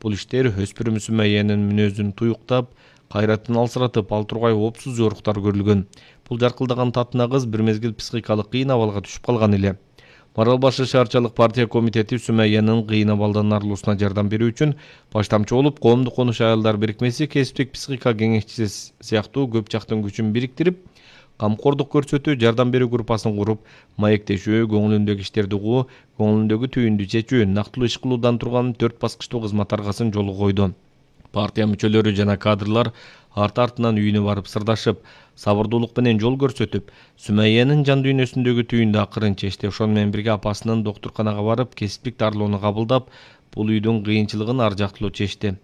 Бул иштер өспүрүм Сүмейянын мүнөзүн туюктап, кайратын алсыратып, ал тургай оопсуз жоруктар көрүлгөн. Бул жаркылдаган татына кыз бир мезгил психикалык кыйын абалга түшүп калган эле. Марал Башы шаарчалык партия комитети Сүмейянын кыйын абалдан арылуусуна жардам берүү үчүн баштамчы болуп, коомдук конуш аялдар бирикмеси, кесиптик психика кеңешчиси сыяктуу көп жактын күчүн бириктирип, камкордук көрсөтүү, жардам берүү группасын куруп, маектешүү, көңүлүндөгү иштерди угуу, көңүлүндөгү түйүндү чечүү, нактылуу иш кылуудан турган 4 баскычтуу кызмат аргасын жолго койду. Партия мүчөлөрү жана кадрлар арты-артынан үйүнө барып сырдашып, сабырдуулук менен жол көрсөтүп, Сүмейянын жан дүйнөсүндөгү түйүндү акырын чечти. Ошону менен бирге апасынын доктурканага барып, кесиптик дарылоону кабылдап, бул үйдүн кыйынчылыгын ар жактылуу чечти.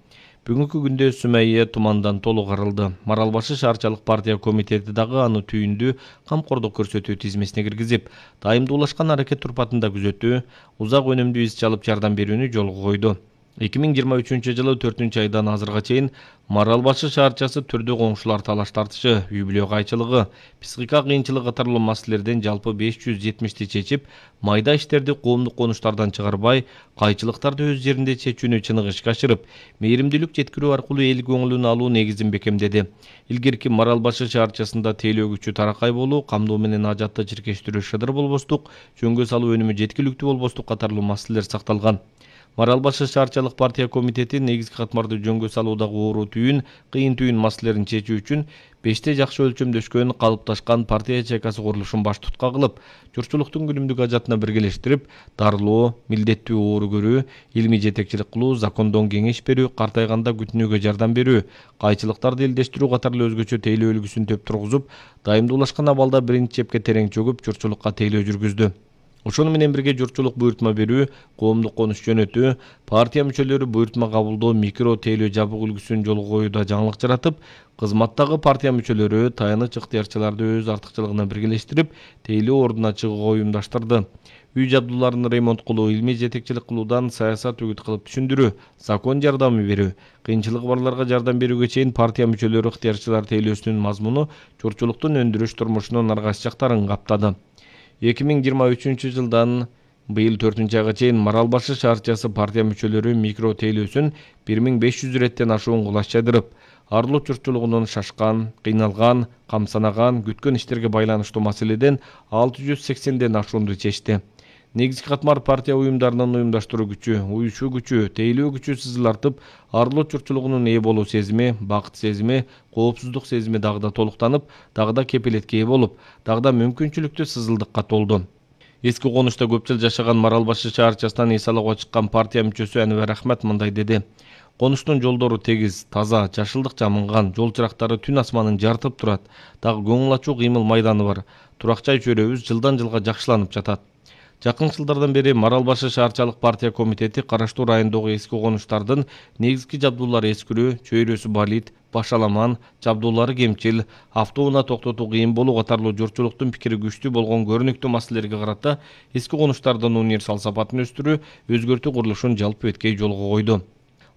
Бүгүнкү күндө Сүмейя тумандан толук арылды. Марал Башы шаарчалык партия комитети дагы аны түйүндү камкордук көрсөтүү тизмесине киргизип, дайымдуулашкан аракет турпатында күзөтүү, узак өнүмдүү иш чалып жардам берүүнү жолго койду. 2023-жылы 4-айдан азырга чейин Марал Башы шаарчасы түрдүү коңшулар талаш тартышы, үй-бүлө кайчылыгы, психика кыйынчылыгы катарлуу маселелерден жалпы 570ти чечип, майда иштерди коомдук конуштардан чыгарбай, кайчылыктарды өз жеринде чечүүнү чыныгы ишке ашырып, мээримдүүлүк жеткирүү аркылуу эл көңүлүн алуу негизин бекемдеди. Илгерки Марал Башы шаарчасында тейлөө күчү таракай болуу, камдоо менен ажатты чиркештирүү шыдыр болбостук, жөнгө салуу өнүмү жеткиликтүү болбостук катарлуу маселелер сакталган. Марал Башы шаарчалык партия комитети негизги катмарды жөнгө салуудагы оору түйүн, кыйын түйүн маселелерин чечүү үчүн 5те жакшы өлчөмдөшкөн, калыпташкан партия ячейкасы курулушун баш tutка кылып, журтчулуктун күнүмдүк ажатына биргелештирип, дарылоо, милдеттүү оору көрүү, илмий жетекчилик кылуу, закондон кеңеш берүү, картайганда күтүнүүгө жардам берүү, кайчылыктарды элдештирүү катарлуу өзгөчө тейлөө үлгүсүн төп тургузуп, дайымдуулашкан абалда биринчи чепке терең чөгүп, журтчулукка тейлөө жүргүздү. Ошону менен бирге журтчулук буйртма берүү, коомдук конуш жөнөтүү, партия мүчөлөрү буйртма кабылдоо, микро тейлөө жабык үлгүсүн жолго коюуда жаңылык жаратып, кызматтагы партия мүчөлөрү таяныч ыктыярчыларды өз артыкчылыгына биргелештирип, тейлөө ордуна чыгууга уюмдаштырды. Үй жабдууларын ремонт кылуу, илмий жетекчилик кылуудан саясат үгүт кылып түшүндүрүү, закон жардамы берүү, кыйынчылыгы барларга жардам берүүгө чейин партия мүчөлөрү ыктыярчылар тейлөөсүнүн мазмуну журтчулуктун өндүрүш турмушунун ар кайсы жактарын каптады. 2023-жылдан быйыл 4-айга чейин Марал Башы шаарчасы партия мүчөлөрү микро тейлөөсүн 1500 реттен ашуун кулаш жайдырып, арылуу журтчулугунун шашкан, кыйналган, камсанаган, күткөн иштерге байланыштуу маселеден 680ден ашуунду чечти. Негизги катмар партия уюмдарынын уюмдаштыруу күчү, уюшуу күчү, тейлөө күчү сызылартып, арылуу журтчулугунун ээ болуу сезими, бакыт сезими, коопсуздук сезими дагы да толуктанып, дагы да кепилетке ээ болуп, дагы да мүмкүнчүлүктүү сызылдыкка толду. Эски конушта көп жыл жашаган Марал Башы шаарчасынан эс алууга чыккан партия мүчөсү Анвар Ахмат мындай деди. Конуштун жолдору тегиз, таза, жашылдык жамынган, жол чырактары түн асманын жарытып турат, дагы көңүл ачуу кыймыл майданы бар. Турак жай чөйрөбүз жылдан жылга жакшыланып жатат. Жакын жылдардан бери Марал Башы шаарчалык партия комитети караштуу райондогу эски конуштардын негизги жабдуулары эскирүү, чөйрөсү балит, башаламан, жабдуулары кемчил, автоунаа токтотуу кыйын болуу катарлуу журтчулуктун пикири күчтүү болгон көрүнүктүү маселелерге карата эски конуштардын универсал сапатын өстүрүү, өзгөртүү курулушун жалпы эткей жолго койду.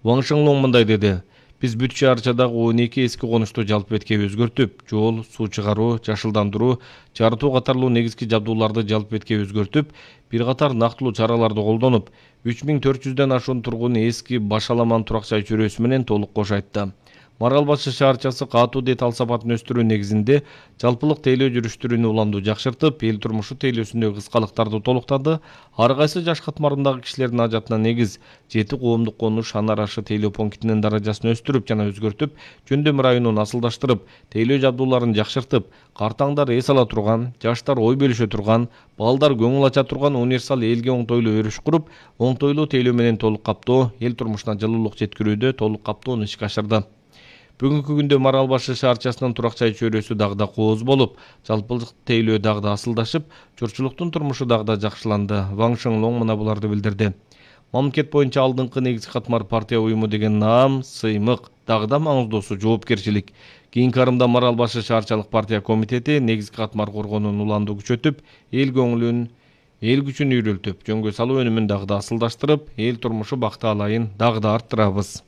Ваң Шыңлоң мындай деди. Биз бүт шаарчадагы 12 эски конушту жалпы эткей өзгөртүп, жол, суу чыгаруу, жашылдандыруу, жарытуу катарлуу негизги жабдууларды жалпы эткей өзгөртүп, бир катар нактылуу чараларды колдонуп, 3400ден ашуун тургун эски Башаламан турак жай чөйрөсү менен толук кош айтты. Марал Башы шаарчасы катуу дет ал сапатын өстүрүү негизинде жалпылык тейлөө жүрүштөрүнү уламдуу жакшыртып, эл турмушу тейлөөсүндөгү кыскалыктарды толуктады. Ар кайсы жаш катмарындагы кишилердин ажатына негиз 7 коомдук конуш ан арашы тейлөө пунктинин даражасын өстүрүп жана өзгөртүп, жөндөм районун асылдаштырып, тейлөө жабдууларын жакшыртып, картаңдар эс ала турган, жаштар ой бөлүшө турган, балдар көңүл ача турган универсал элге оңтойлуу өрүш куруп, оңтойлуу тейлөө менен толук каптоо, эл турмушуна жылуулук жеткирүүдө толук каптоону ишке ашырды. Бүгүнкү күндө Марал Башы шаарчасынын турак жай чөйрөсү дагы да кооз болуп, жалпылык тейлөө дагы да асылдашып, журтчулуктун турмушу дагы да жакшыланды. Ваң Шыңлоң мына буларды билдирди. Мамлекет боюнча алдыңкы негизги катмар партия уюму деген наам, сыймык, дагы да маңыздуусу жоопкерчилик. Кийинки арымда Марал Башы шаарчалык партия комитети негизги катмар коргоонун уланды күчөтүп, эл көңүлүн, эл күчүн үйрөлтүп, жөнгө салуу өнүмүн дагы да асылдаштырып, эл турмушу бакты алайын дагы да арттырабыз.